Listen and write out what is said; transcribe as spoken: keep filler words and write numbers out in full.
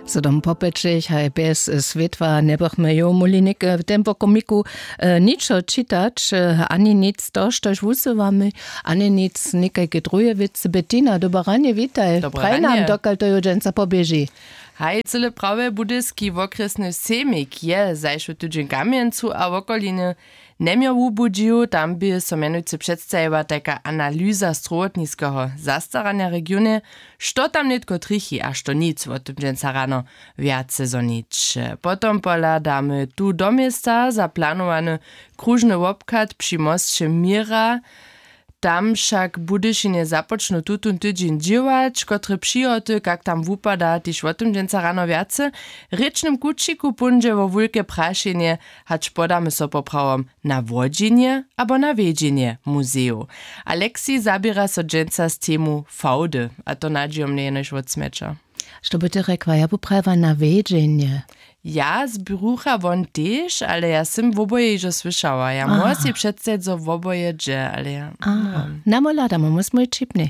Zo dom popečeć haj bjez swětła njebychmy jow móhli něke w tempokomiku ničo čitać, ani nic to štož wusywamy, ani nic někajke druhe wěcy. Bettina, dobre ranje, witaj. Praj nam, dokal to jow dźensa poběži. Haj, cyle prawje, budyski wokrjesny sejmik je zašły tydźeń w kamjencu a wokolinje njeměł wubudźił. Tam bě so mjenujcy předstajiła tajka analyza strowotniskeho zastaranja w regionje. Što tam nětko trjechi a što nic, wo tym dźensa rano wjace zhonić. Potom pohladamy tu do města za planowany kružny wobchad při mosće měra. Tam wšak w budyšinje započnu tutón tydźeń dźěłać. Kotre přihoty, kak tam wupada, tež wo tym dźensa rano wjace. W rěčnym kućiku póńdźe wo wulke prašenje, hač podamy so poprawom na wodźenje abo na wjedźenje muzejow. Alexi zaběra so dźensa z temu fałdy, a to nadźijomnje jenož wot smjeća. Što by ty rjekła? Ja bu prajiła na wjedźenje. Ja zbrucha won tež, ale ja sym woboje hižo słyšała. Ja móhła sej předstajić, zo woboje dźe, ale ja. Namo hladamo, mój smój čipny.